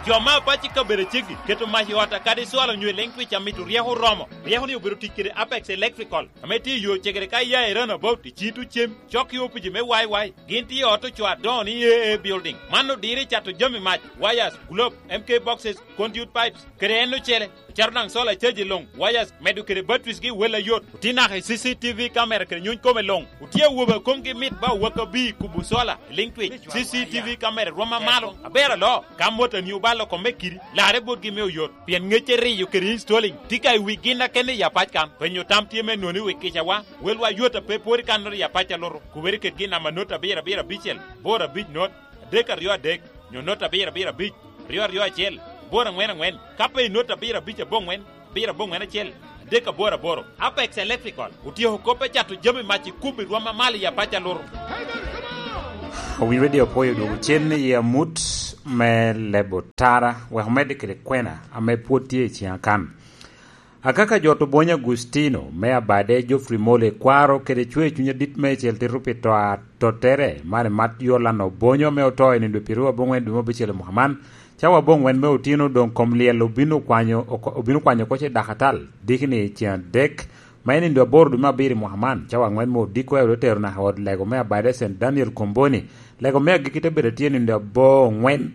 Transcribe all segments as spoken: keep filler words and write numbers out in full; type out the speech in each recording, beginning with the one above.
Jo me apac i kabedo aceggi keto mac i ot akadi cwalo onyo i liŋ twic amito ryeko oromo. Ryeko-ni obedo tic kede Apex Electrical, ame tye i yo cegere ka iya i Runabout, i Citu Cem, cok i opici me Y Y. Gin tye i ot ocoo adoŋo ni A A Building. Man odiro i cato jami mac, wires, globe, M K boxes, conduit pipes, kede en ocele. Caro daŋ solar charge i luŋ, wires, medo kede batteries gi wel ayot. Otye naka i C C T V camera kede nyuny kome luŋ. Otye awobe a komgi mit ba owaka bi i kubo solar i liŋ twic. C C T V camera rwom amalo, aber alo. Ka motani obalo kome kidi, larre botgi me oyot. Pien ŋecce riyo kede installing tye ka i wi gin a kene i apac kan. Penyo tam tye me noni wi kicawa, welwa yot a pe pwod i kannoro i apac a luto. Kubere kedgi namba not abiro abiro abicel, boro abic not, adek aryo adek, nyo not abiro abiro abic, aryo aryo acel, boro aŋwen aŋwen. Ka pe i not abiro abic aboŋwen, abiro aboŋwen acel, adek aboro aboro. Apex Electrical otyeko kop me cato jami mac i kubo i rwom amalo i apac a luto. Owinyo Radio Apwoyo odwogo cen i amut me lebo tara, wek omedde kede kwena ame pwod tye i ciŋa kan. Akaka jo to bwony Agustino, me abade Geoffrey Mole, kwaro kede cwer cuny adit meicel tito pi to a tottere, man i mat Yolano Bonyo, me oto i nindo pyeraryo aboŋwen dwe me abicel i mwaka man. Cawa aboŋwen me otino doŋ kom lyel obino kwanyo oko, obino kwanyo oko ce dakatal, diki ni ceŋ adek, ma i nindo aboro dwe me abiro i mwaka man. Cawa aŋwen me odiko ero otero naka i ot lego me abade Saint Daniel Komboni. Lego me agikki te bedo tye nindo aboŋwen.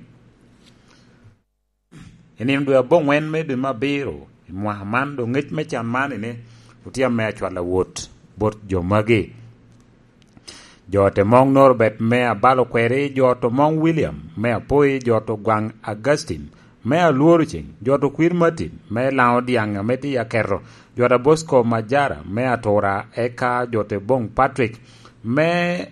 I nino dwe aboŋwen me dwe me abiro i mwaka man, doŋ ŋec me can man ni, otye ame acwal awot bot jo magi. Jo te moŋ Norbert me abalo kweri, jo to moŋ William me apoi, jo to gwaŋ Augustine me alworo ceŋ, jo to kwir Martin me laŋo dyaŋ ame tye aketo, jo ta Bosco Majara me atura, eka jo te boŋ Patrick me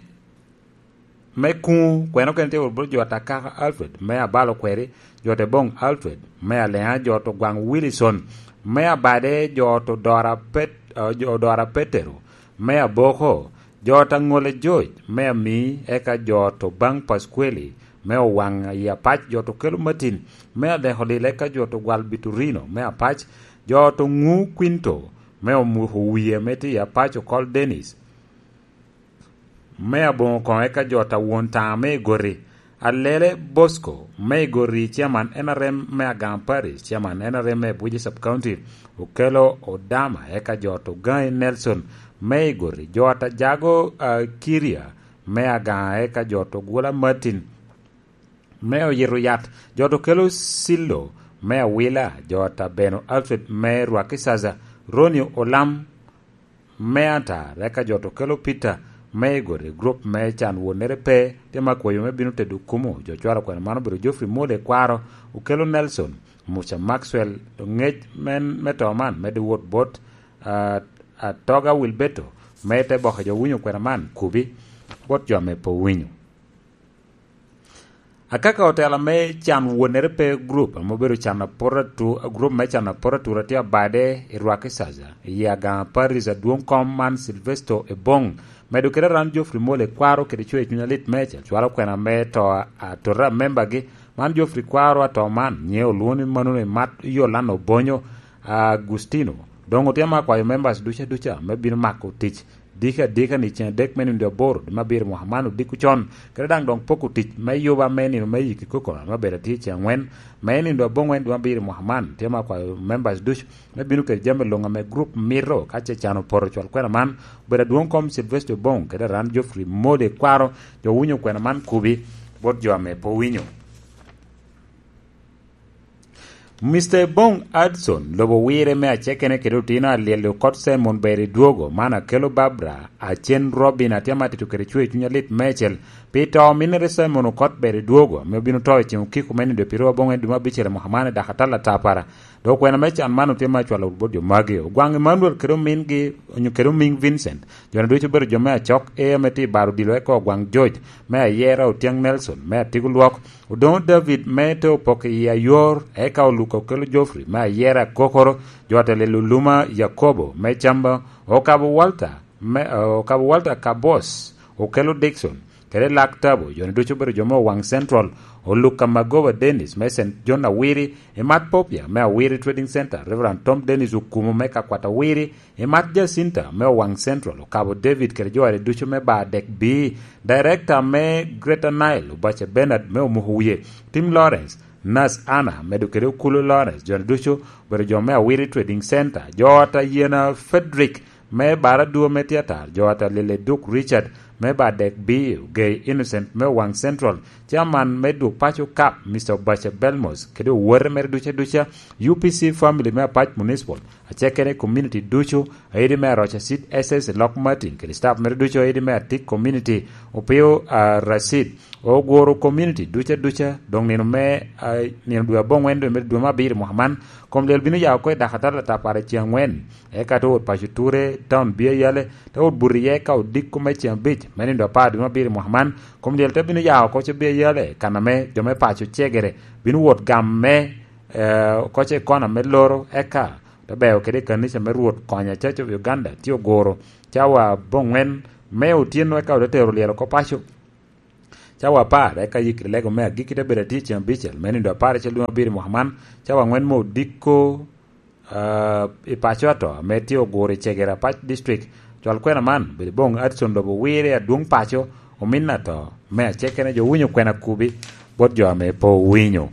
me kuŋu, kweno kene tye wot bot jo ta kaka Alfred, me abalo kweri, jo te boŋ Alfred, me aleŋa jo to gwaŋ Wilson, me abade jo to dora Pet-, eh, jo dora Petero, me aboko, jo ta ŋole George, me ami, eka jo to baŋ Pasqueli, me owaŋ i apac jo to kelo Martin, me adeko lil, eka jo to gwal Biturino, me apac, jo to ŋu Quinto, me omuko wie, me tye i apac okol Dennis, me aboŋo koŋ eka jo ta won taŋa me igoti, Alele Bosco me igoti, chairman N R M me Agaŋ Parish, chairman N R M me Abuja Sub County, Okelo Odama, eka jo to Gaŋi Nelson me igoti, jo ta Jago, ah, Kiria me Agaŋa, eka jo to Gula Martin me oyito yat, jo to Kelo Sillo me Awila, jo ta Beno Alfred me Rwakicaca, Ronnie Olam me Atar, eka jo to Kelo Peter me Igode, group me can wonere pe, tye ma kwoyo me bino tedo kumo, jo cwalo kwena man obedo Geoffrey Mole Kwaro, Okelo Nelson, Musa Maxwell, ŋec men me to man medde wot bot, ah, Atoga Wilberto, me te boke jo winyo kwena man kubi bot jo ame pe owinyo. Akaka otela me can wonere pe group ame obedo can apot atu-, group me can apot atura tye abade i Rwakicaca, i Agaŋa Parish adwoŋ kom man Silvesto Ebong, medo kede aran Geoffrey Mole Kwaro kede cwer cuny alit meicel, cwalo kwena me to a-, atura membagi, man Geoffrey Kwaro ato man, nyiŋe olwoŋo ni Manuel Mat Yolano Bonyo Agustino. Doŋ otye ma akwayo members duca duca me bino mako tic diki adika ni ceŋ adek me nino aboro dwe me abiro mwaka man odiko con, kede daŋ doŋ poko tic me yuba me nino me yiki kokona me bedo atye ceŋ angwen me nino aboŋwen dwe me abiro mwaka man. Tye ma akwayo members ducu me bino kede jami luŋ ame group mito, ka ce can opoto cwal kwena man, obedo adwoŋ kom Sylvester Bong kede aran Geoffrey Mode Kwaro, jo winyo kwena man kubi bot jo ame pe owinyo. Mister Bong Adson, lobo wire me acekene kede otino alyel okot Simon ber i dwogo, man akelo Barbara, acen Robin, atye amatito kede cwer cuny alit meicel. Pi to minere Simon okot ber i dwogo, ame obino to i ceng okiko me nido pyeraryo aboŋwen dwe me abicel i mwaka man i dakatal atapara. Dok kwena me can man otye me acwalo bot jo magi. Ogwaŋ Emmanuel kede omingi, onyo kede omiŋ Vincent. Jo-ni ducu obedo jo me acok, e ame tye i baro odilo eka ogwaŋ George, me ayera Otyang Nelson, me atigo lwok, Odoŋo David me te opoko i ayor, eka Oluka okelo Geoffrey me ayera akokoro, jo atelelo Luma Yakobo me Camba, okabo Walter, me, okabo Walter Kabos, okelo Dickson, kede Lak Tabo, jo-ni ducu obedo jo me Owaŋ Central, Oluka Magoba Dennis me Saint John Awiri, Imat Popia me Awiri Trading Center, Reverend Tom Dennis Okumu me Kakwat Awiri, Imat Jacinta me Owaŋ Central, okabo David kede jo are ducu me bar dek B, Director me Greater Nile, Obace Bernard me Omuko Wiye, Tim Lawrence, Nas Anna, medo kede Okulu Lawrence, jo-ni ducu obedo jo me Awiri Trading Center, jo ot a Yiena Frederick, me Baradwo me Theater, jo ot a Lele Duk Richard, me Badek Biyo, Gay Innocent me Owaŋ Central, Chairman me Dwog Paco Cup, Mister Obaca Belmos, kede owote mere duca duca, U P C family me Apac Municipal, acekene community ducu, aidi me Aroca Seed S S i Lok Martin, kede staff mere ducu, aidi me Atik Community, Opio, ah, Racid, Ogoro Community duca duca, doŋ nino me, ah, nino dwe aboŋwen dwe me, dwe me abiro mwaka man, kom lyel bino ya oko i dakatal atapar i ceŋ aŋwen, eka te wot paco ture, taun Bia Yale, te wot buto iye ka odiko me ceŋ abic, me nino apar dwe me abiro mwaka man, kom lyel te bino ya oko ce Bia Yale, kan ame jo me paco cegere bino wot gamme, eh, oko ce i kona me loro, eka te beo kede i kanica me Rwot Konya Church of Uganda, tye Ogoro, cawa aboŋwen me otyeno, eka ote tero lyel oko paco. Cawa apar, eka yikri lego me agikki te bedo atye ceŋ abicel, me nino apar icel dwe me abiro mwaka man, cawa aŋwen me odiko, ah, i paco ato, ame tye Ogoro i Cegere Apac District. Cwal kwena man, bedo boŋ Addison lobo wire adwoŋ paco, omin ato, me acekene jo winyo kwena kubi, bot jo ame pe owinyo.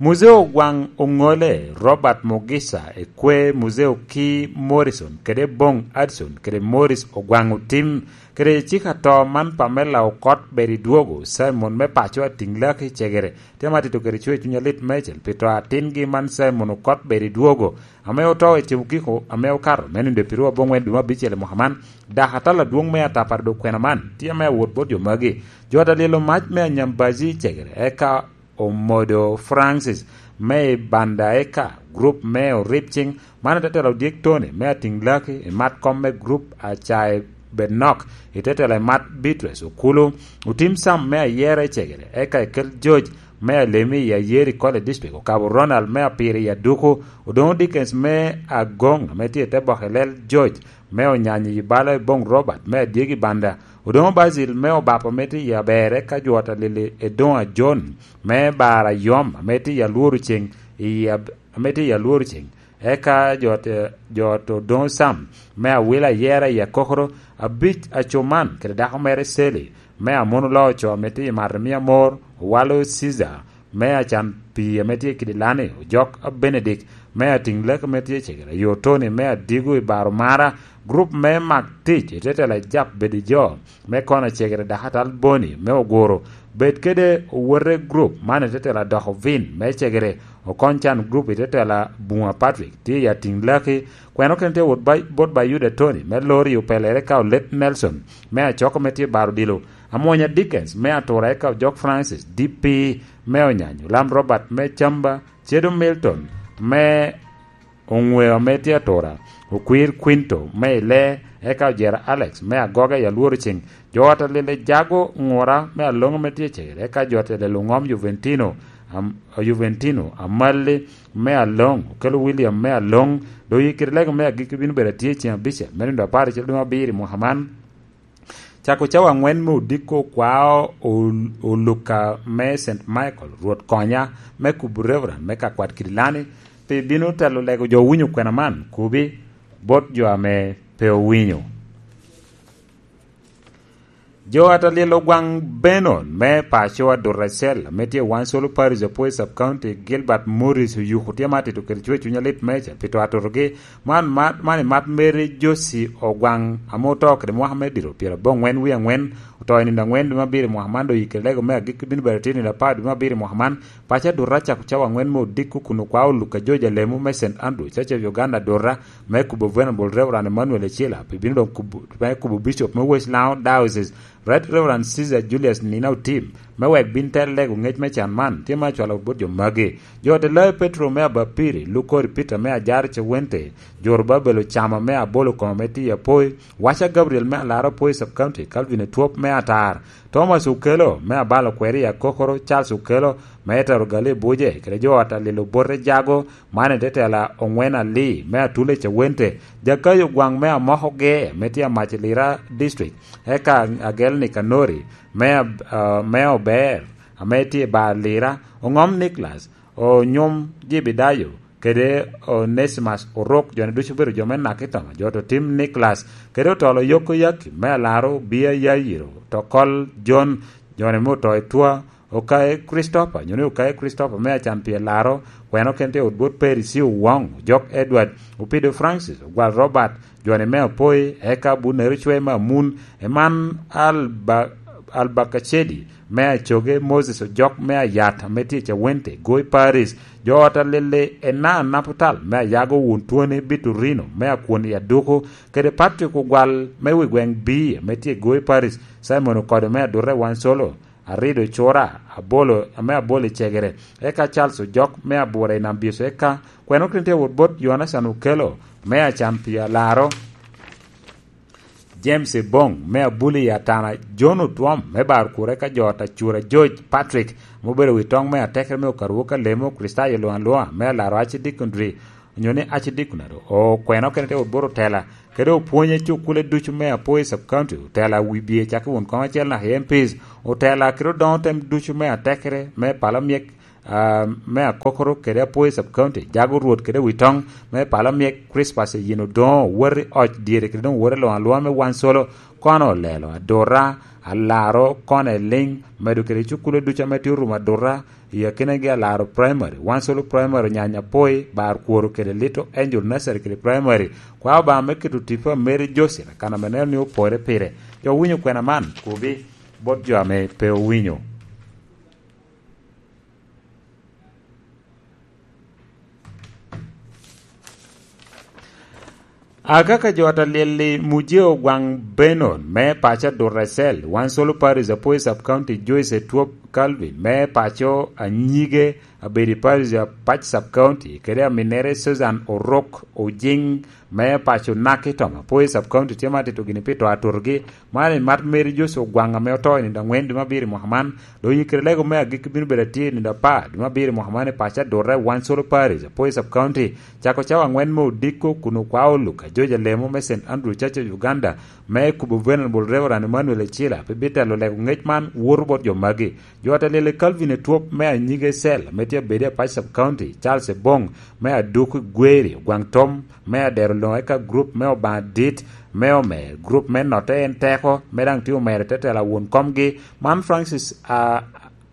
Muzeo Ogwaŋ Oŋole, Robert Mugisa, ekwe Muzeo ki Morrison, kede boŋ Addison, kede Morris Ogwaŋ Otim, kede cik ato man Pamela Okot Beri Dwogo, Simon me paco Atiŋ Laki Cegere, tye ma tito kede cwer cuny alit meicel pi to atingi man Simon Okot Beri Dwogo, ame oto i cem okiko ame okato, me nino dwe pirwo aboŋwen dwe me abicel i mwaka man, dakatal adwoŋ me atapar dok kwena man, tye ame awot bot jo magi. Jo ata lyelo mac me Anyambazi Cegere, eka Omodo Francis, me i Banda Eka, grup me Oripcing, man i tetela Odyek Tony, me Atiŋ Laki, i mat kom me grup Acae Bednok, i tetela i mat Beatrice Okulu, Otim Sam me Ayera i Cegere, eka i kel George, me Alemi i Ayeri College District, Okabo Ronald me Apiri i Aduku, Odoŋo Dickens me Agoŋ, ame tye i te bok i lel George, me Onyanyi i bala i boŋ Robert, me Adyegi Banda, Odoŋo Basil me Obapo ame tye i Aber, eka jo ata lili Edoŋa John, me Bara Yom, ame tye i Alworo Ceŋ, i Ab-, ame tye i Alworo Ceŋ. Eka jo te, jo te Odoŋo Sam, me Awila Ayera i Akokoro, Abic Acuman, kede dako mere Seli, me Amono Loo Oco, ame tye i Mato Mia Mor, Owalo Caesar, me Acan Pii, ame tye i Kidilani, Ojok Abenedik, me Atiŋ Lek, ame tye i Cegere, Ayo Tony, me Adigo i Baro Mara, grup me Mak Tic, i tetela Jap Bedi Jo, me Kona Cegere, dakatal Boni, me Ogoro, bed kede owote grup man i tetela Doko Vin, me Cegere, Okony Can grup i tetela Buŋa Patrick, tye i Atiŋ Laki, kweno kene tye wot ba-, bot Bayuda Tony, me Lori Opelere ka Olet Nelson, me Acoko, ame tye i Baro Dilo, Amwonya Dickens, me Atura, eka Ojok Francis, D P, me Onyanyo, Lam Robert, me Camba, Cedo Milton, me Oŋweo, ame tye Atura, Okwir Quinto, me Ile, eka Ojera Alex, me Agoga i Alworo Ceŋ, jo ata lele Jago Ŋura, me Aloŋ, ame tye Cegere, eka jo ata lele Oŋom Juventino, am-, Juventino, Amalli, me Aloŋ, Okelo William, me Aloŋ, doŋ yikiri lego me agikki bino bedo atye ceŋ abicel, me nino apar icel dwe me abiro i mwaka man. Cako cawa aŋwen me odiko kwao ol-, oluka me Saint Michael, Rwot Konya, me kubo Reverend me Kakwat Kidilani, pi bino telo lego jo owinyo kwena man, kubi bot jo ame pe owinyo. Jo ata lyel Ogwaŋ Benon me paco Aduracel, ame tye i Wansolo Parish, Apwoyo Sub County, Gilbert Morris Oyuku tye ma tito kede cwer cuny alit meicel pi to atotogi, Man, man, man i mat Mary Josie Ogwaŋ, ame oto kede mwaka me diro pyeraboŋwen wie aŋwen, oto i nino aŋwen dwe me abiro i mwaka man, doŋ yikere lego me agikki bino bedo tye nino apar dwe me abiro i mwaka man. Paco Adurra cako cawa aŋwen me odiko kun okwao Luka George Alemu me Saint Andrew Church of Uganda Adurra, me kubo Venerable Reverend Emmanuel Ecila, pi bino doŋ kubo, me kubo Bishop me West Lango Diocese, Right Reverend Caesar Julius Nina Otim, me wek bin tel lego ŋec me can man, tye ma acwalo bot jo magi. Jo ate Layo Petro me Abapiri, Lukori Peter me Ajaro Cewente, Joro Babel Ocamo me Abolo Komo me Tiyo Apoi, Waca Gabriel me Alaro Apoi Sub County, Calvin Etwop me Atar, Thomas Okelo me Abalo Kweri i Akokoro, Charles Okelo me Etero Gali Buje, kede jo ata lilo bote Jago, man i tetela Oŋwen Ali me Atule Cewente, Jakayo Gwaŋ me Amoko Ge me tye Amac i Lira District, eka Agel Nikanori me Ab-, ah, me Ober, ame tye i bar Lira, Oŋom Niklas, Onyom Jebedayo, kede Onesimus Orok, jo-ni ducu obedo jo me Nakitoma, jo oto Tim Niklas, kede otolo Yoko Yaki, me Alaro Bia Yayiro, Tokol Jon, jo-ni me oto i Twa, Okae Christopher, nyo ni Okae Christopher me Acan pi Alaro, kweno kene tye i ot bot Percy Owong, Ojok Edward, Opido Francis, Ogwal Robert, Joni me Apoi, eka Abunero Cwe me Amun, Eman Alba-, Albakacedi me Acoge, Moses Ojok me Ayat ame tye i Cawente, Goi Paris, jo ot Alili, Enan Naputal me Ayago, Wun Twoni Biturino me Akwon i Aduku, kede Patrick Ogwal me wi gweŋ B ame tye i Goi Paris, Simon Okodo me Adute Wansolo, Arido Cura, Abolo, ame Abolo i Cegere, eka Charles Ojok me Abura i Nam Byecu, eka kweno kene tye wot bot Yonacan Okelo me Acan pi Alaro, James Ebong me Abuli i Atana, John Otwom me Bar Kure, eka jo ot Acura, George Patrick ame obedo wi toŋ me atekere me Okaruo ka Lemo, Kricitayo luŋ aluŋa me Alaro Archdeaconry, onyo ni Archdeaconry, okweno kene tye wot bot otela, kede opwonye cukule ducu me Apoi Sub County, otela wibye cakki won koŋ acel naka i M Ps, otela kede odoŋo tem ducu me atekere me pala myek, ah, me Akokoro kede Apoi Sub County, jago Rwot kede wi toŋ me pala myek, Christmas i yin odoŋo, woti oc dyere kede doŋ woti luŋ aluŋa me Wansolo, kono olelo, Adura, Alaro, kono eliŋ, medo kede cukule ducu ame tye orumo Adura, i akinagi Alaro Primary, Wansolo Primary, Onyanya Apoi, Bar Kworo kede Little Angel Nursery kede Primary. Kwa Obaŋa me keto tipo a Mary Joseph, kan ame neno ni opore pire. Jo owinyo kwena man, kobi bot jo ame pe owinyo. Akaka jo ot Alyel-li, Mujeo Gwaŋ Benon me paco Adura Cell, Wansolo Parish, Apoi Sub County, Joyce Etwop Calvin me paco Anyige, Abedi Parish, Apac Sub County, kede aminere Susan Orok Ojiŋ me paco Naki Tom, Apoi Sub County, tye ma tito gini pi to atutogi. Man en mat Mary Joshua Ogwaŋ ame oto i nino aŋwen dwe me abiro i mwaka man. Doŋ i kare lego me agikki bino bedo atye i nino apar dwe me abiro i mwaka man i paco Adura i Wansolo Parish, Apoi Sub County, cako cawa aŋwen me odiko kun okwao Luka George Alemo me Saint Andrew Church of Uganda, me kubo Venerable Reverend Emmanuel Ecila, pe bitelo lego ŋec man woto bot jo magi. Jo ot Alyel-li, Calvin Etwop me Anyige Cell, ame tye abedi Apac Sub County, Charles Ebong me Aduk Gweri, Ogwaŋ Tom me Adero Loŋo, eka group me Obaŋa Dit me Omer, group me Notte En Teko, me daŋ tye omero i te tela won komgi, man Francis a-,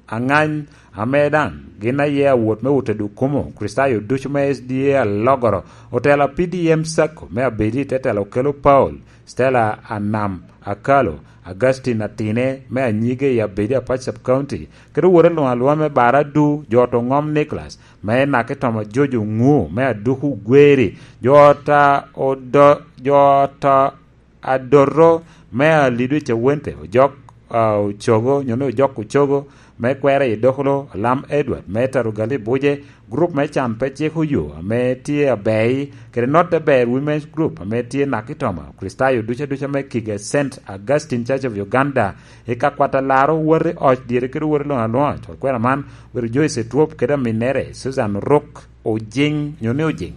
Aŋany, ame daŋ gin aye awot me Ute Dukumo, Kricitayo ducu me S D A Alogoro, otela P D M Sacco me Abedi, te tela Okelo Paul, Stella Anam Akalo, Augustine Atine me Anyige i Abedi Apac Sub County, kede owote luŋ aluŋa me Baradu, jo ot Oŋom Nicholas, me Naki Tom Ajojo Ŋu me Aduku Gweri, jo ot a Odo-, jo ot a Adoto me Alidu i Cawente, Ojok, a, Ocogo, nyo ni Ojok Ocogo, me Kwera i Dokolo, Alam Edward, me Tarugali Buje, group me Can Pe Ciko Yo, ame tye Abei, kede Not Aber Women's Group, ame tye Naki Toma, Kricitayo ducu aduca me Kiga Saint Augustine Church of Uganda, i ka kwat Alaro, woti oc dyere kede woti luŋ aluŋa, col kwena man, obedo Joyce Etwop kede aminere, Susan Oruk Ojiŋ, nyo ni Ojiŋ.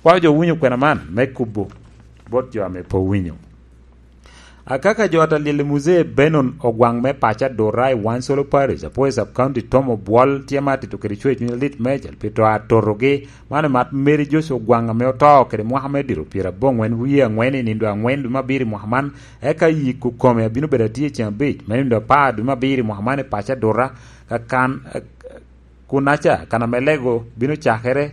Kwao jo owinyo kwena man, me kubo bot jo ame pe owinyo. Akaka jo ot Alyel-li, Muzee Benon Ogwaŋ me paco Adura i Wansolo Parish, Apoi Sub County, Tom Obwol, tye ma atito kede cwer cuny alit meicel pi to atotogi. Man omat Mary Joshua Ogwaŋ ame oto kede mwaka me diro pyeraboŋwen wie aŋwen i nindo aŋwen dwe me abiro i mwaka man, eka yiko kome abino bedo atye i ceŋ abic me nindo apar dwe me abiro i mwaka man i paco Adura, ka kan, Kunaca, kan ame lego bino cakere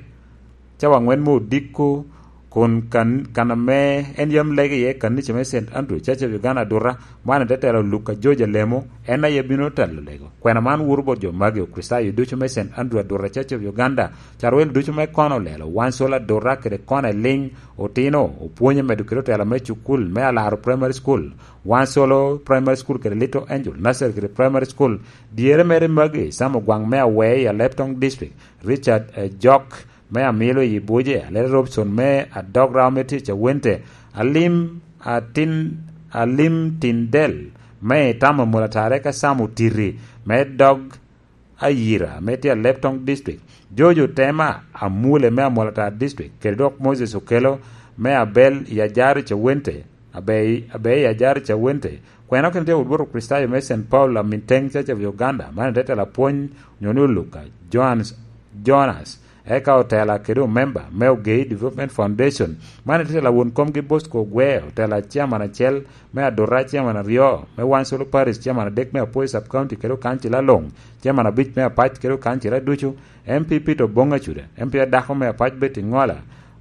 cawa aŋwen me odiko, kun kan, kan ame en yam lego iye kanica me Saint Andrew Church of Uganda Aduta, man en te telo Luka George Alemo, en aye bino telo lego. Kwena man woto bot jo magi, Okricitayo ducu me Saint Andrew Aduta Church of Uganda, carwel ducu me kono olelo, Wansolo Aduta kede kono eliŋ, otino, opwonye medo kede otela me cukul me Alaro Primary School, Wansolo Primary School kede Little Angel Nursery kede Primary School, dyere mere magi, Sam Ogwaŋ me Awee i Aleptong District, Richard, eh, Jok me Amilo i Buje, Alele Robson me Adog Rawa me tye Cawente, Alim Atin, Alim Tindel me Itamo Mulatare ka Sam Otiti me Dog Ayira me tye Aleptong District, George Otema Amule me Amolatar District, kede dok Moses Okelo me Abel i Ajaro Cawente, Abei, Abei i Ajaro Cawente, kwena kene tye wot bot Okricitayo me Saint Paul Aminteng Church of Uganda, man en te telo apwony, nyo ni Oluka, Johannes, Jonas, Eka otela kede omemba me Ogei Development Foundation, man ititela won komgi Bosco Ogweo, otela chairman acel, me Adura chairman aryo, me Wansolo Parish chairman adek, me Apoi Sub County kede okancila luŋ, chairman abic me Apac kede okancila ducu, M P Peter Obong Acuda, M P adako me Apac Betty Ngola,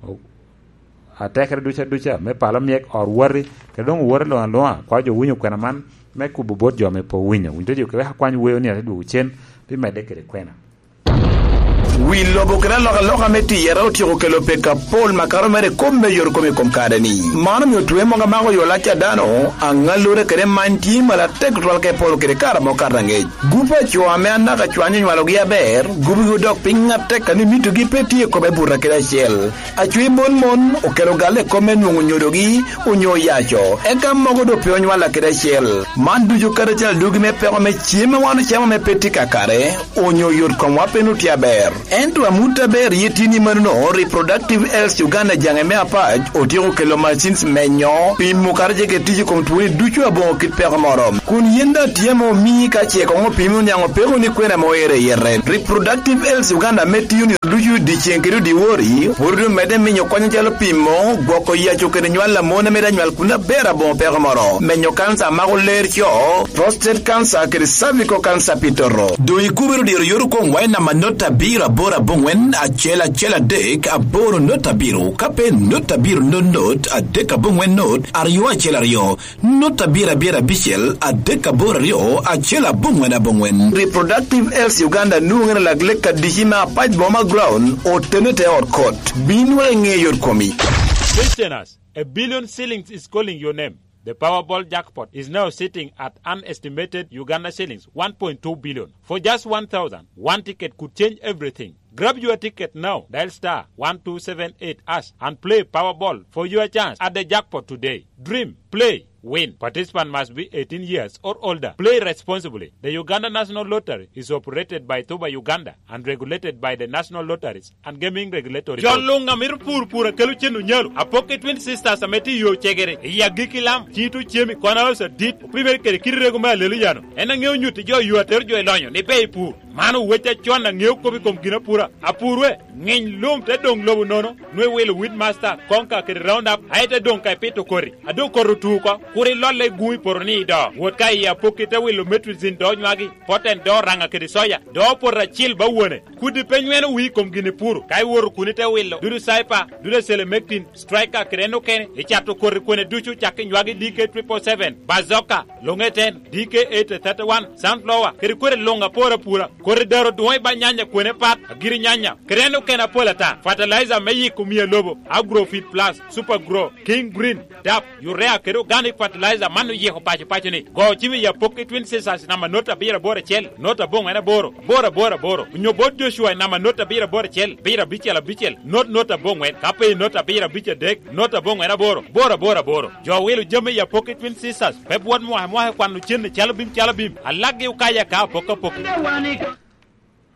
o-, atekere ducu aduca me palo myek ot wati, kede doŋ owoti luŋ aluŋa, kwayo jo winyo kwena man me kubo bot jo ame pe owinyo. Winyo jo kewek akwany weo ni ate dwogo cen, pi medde kede kwena. Wi lobo kede alokaloka me tiyere otyeko kelo peko apol makato mere i kop me yot kom i kom kare-ni. Man omio twe mogo amako yo lac a dano, aŋallure kede many tye malo atek tutwal ka iporo kede kare amo kato aŋec. Gup a co ame anaka cwany onywalogi aber, gubigi odok piny atek a ni mitogi pe tye i kome buto kede acel. Acwe mon mon okelo galle i kop me nwoŋo nyodogi onyo oyaco, eka mogo doŋ pe onywalla kede acel. Man ducu karacel adwogi me peko me cem a wan ocamo ame pe tye kakare, onyo yot komwa pe nut tye aber. Ento amut aber ye tye ni manono, Reproductive Health Uganda jaŋe me Apac otyeko kelo machines menyo, pimo kara jeke tic i kom twoni ducu aboŋo kit peko moro. Kun yen daŋ tye ame omii ka ce koŋ opimi oniaŋ opeko ni kwena ame oero i yete. Reproductive Health Uganda ame tiyo ni ducu dyeceŋ kede dyewor, pwod omedde minyo kony acalo pimo, gwoko yaco kede nywal a mon ame daŋ nywal kun aber aboŋo peko moro, menyo kanca a mako ler co, prostate cancer kede cervical cancer pi toto. Doŋ ikubere odiro yot okoŋwa i namba not abiro aboro aboŋwen acel acel adek aboro not abiro, ka pe not abiro not not adek aboŋwen not aryo acel aryo. Not abiro abiro abicel adek aboro aryo acel aboŋwen aboŋwen. Reproductive Health Uganda nwoŋere lak lek adici me Apac Boma Ground, otene te ot kot. Bin wek iŋe yot komi. Listeners, a billion shillings is calling your name. The Powerball jackpot is now sitting at an estimated Uganda shillings one point two billion. For just one thousand, one ticket could change everything. Grab your ticket now. Dial star one two seven eight hash and play Powerball for your chance at the jackpot today. Dream, play, win. Participant must be eighteen years or older. Play responsibly. The Uganda National Lottery is operated by Tuba Uganda and regulated by the National Lotteries and Gaming Regulatory Board. Jo luŋ a mito pur pur a kelo cen onyalo, apokke Twin Sisters ame tye i yo cegere, i agikki lam, cito cemi, kona osa dit, opimere kede kit rego me alelo yano. En aŋeo nyutti jo yo atero jo i lonyo ni pe i pur. Man owec acon aŋeo kop i kom ginapura. Apur we, ŋiny lum te doŋ lobo nono, nwe wilo Weedmaster, Konka kede Roundup, aye te doŋ ka ipito koti. A doŋ koti otu oko, kur ilolle i gun i poto ni ido. Wot ka i apokki te wilo Metrozine do nywagi, Poten do raŋa kede soya, do poto acil ba wone. Kudi pe nyweno wii i kom gin ipuro, ka iwoto kun ite wilo dudu Cyper, dudu Selemectin, Striker kede en okene, icato koti kwene ducu cak i nywagi D K triple seven, Bazooka, Longeten, D K eight thirty-one, Sunflower, kede koti luŋ aporo apura. Koti daro dwoŋ i ba nyanya kwene pat, agiri nyanya, kede en okene apol ata. Fertilizer me yiko mia lobo, Agrofit Plus, Super Grow, King Green, dap, urea kede organic fertilizer man oyiko paco paco ni. Go cim i apokki Twin Sisters namba not abiro aboro acel, not aboŋwen aboro, aboro aboro aboro. Onyo bot Joshua i namba not abiro aboro acel, abiro abicel abicel, not not aboŋwen. Ka pe i not abiro abic adek, not aboŋwen aboro, aboro aboro aboro. Jo wilo jami i apokki Twin Sisters, pe bwot mwaka mwaka kwano cen i calo bim calo bim. Alaggi okayo aka apok apok.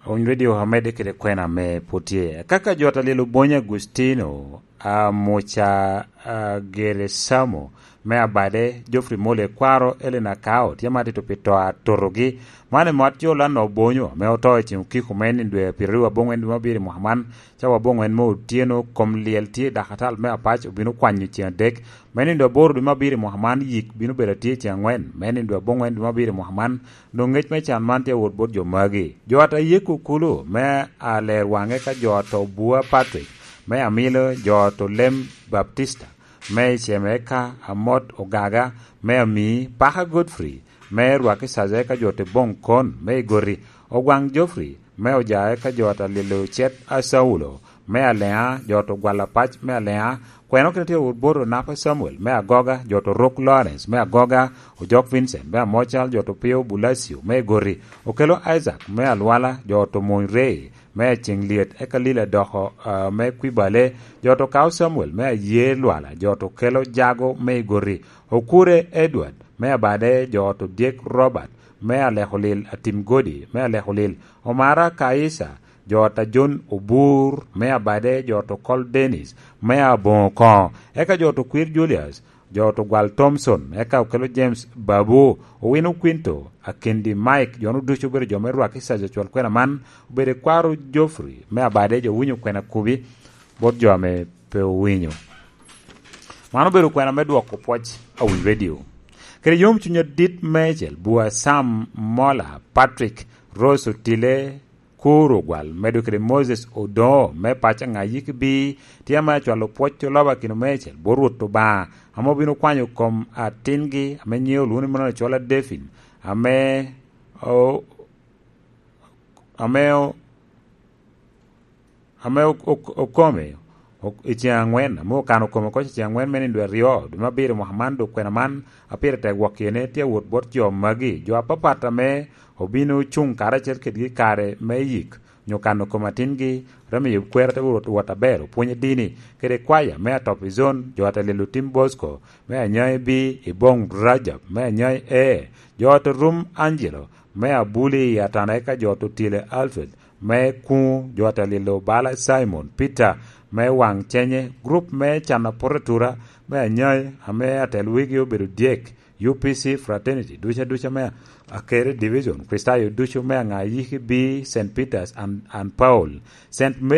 Ony Radio amedde kede kwena ame pwod tye. Kaka jo ta lyel Obonyo Agustino, a, Muca, a, Geresamo, me Abade, Geoffrey Mole, kwaro Elena Kao, tye ma tito pi to a totogi. Man eme wat jo Lana Obonyo, ame oto i ceng okiko me nino dwe pyeraryo aboŋwen dwe me abiro i mwaka man, cawa aboŋwen me otyeno, kom lyel tye i dakatal me Apac obino kwanyo ceng adek. Me nino dwe aboro dwe me abiro i mwaka man, yik bino bedo atye ceng aŋwen. Me nino dwe aboŋwen dwe me abiro i mwaka man, doŋ ŋec me can man tye awot bot jo magi. Jo ata yeko kulu me aler waŋe ka jo oto Bua Patrick, me Amilo jo oto Lem Baptista, me Iceme ka Amot Ogaga, me Ami Paka Godfrey, me Rwaki Caje ka jo oto Boŋ Kon, me Igoti Ogwaŋ Geoffrey, me Ojae ka jo ata Lilo Cet a Caulo, me Aleŋa jo oto Gwala Pac, me Aleŋa Kweno kede tye wot bot Onapa Samuel me Agoga, jo oto Rok Lawrence me Agoga, Ojok Vincent me Amocal, jo oto Pio Bulacio me Igoti, Okelo Isaac me Alwala, jo oto Mony Rey me Aceŋ Lyet, eka Lila Doko, ah, me Kwibale, jo oto Kao Samuel me Aye Lwala, jo oto Kelo Jago me Igoti, Okure Edward me Abade, jo oto Dyek Robert me Alekolil, Atim Godi me Alekolil, Omara Kaisa, jo ata John Obur me Abade, jo oto Kol Dennis me Aboŋo Koŋo, eka jo oto Kwir Julius Jo otugwal Thompson, eka okelo James Babu, owino Quinto, Akindi Mike, jo-nu ducu obedo jo me rwak i caja cwal kwena man, obedo i kwaro Geoffrey me Abade, jo owinyo kwena kubi bot jo ame pe owinyo. Man obedo kwena me dwoko pwoc awiny redio. Kede yom cuny adit meicel, bua Sam Mola, Patrick Rose Otile, Kuro Gwal, medo kede Moses Odongo me paco Aŋayiki B, tye ame acwalo pwoc oloba kino meicel bot Rwot Obaŋa, ame obino kwanyo kom atingi ame nyiŋe olwoŋo ni Mano Acwala Devin, ame o-, ame o-, ame o-, o-, okome o-, i ceŋ aŋwen, ame okano kome oko i ceŋ aŋwen me nino dwe aryo, dwe me abiro mwaka man, dok kwena man a pire tek gwok kene tye awot bot jo magi, jo apapat ame obino cuŋ karacel kedgi i kare me yik, nyo kano kom atingi, romo yub kwero te wot, wot aber, opwony adini, kede kwaya me Atop i Zon, jo ate lilo Tim Bosco, me Anyai B, i Boŋ Rajab, me Anyai A, jo ate Rum Angelo, me Abuli i Atana, eka jo ate Otile Alfred, me Kuŋo, jo ate lilo Bala Simon Peter, me Waŋ Cenye, grup me Cana Poto Atura, me Anyai, ame atel wigi obedo dyek, U P C Fraternity, duca duca me Akere Division, Kristayo ducu me Aŋayiki B, Saint Peter's and, and Paul, Saint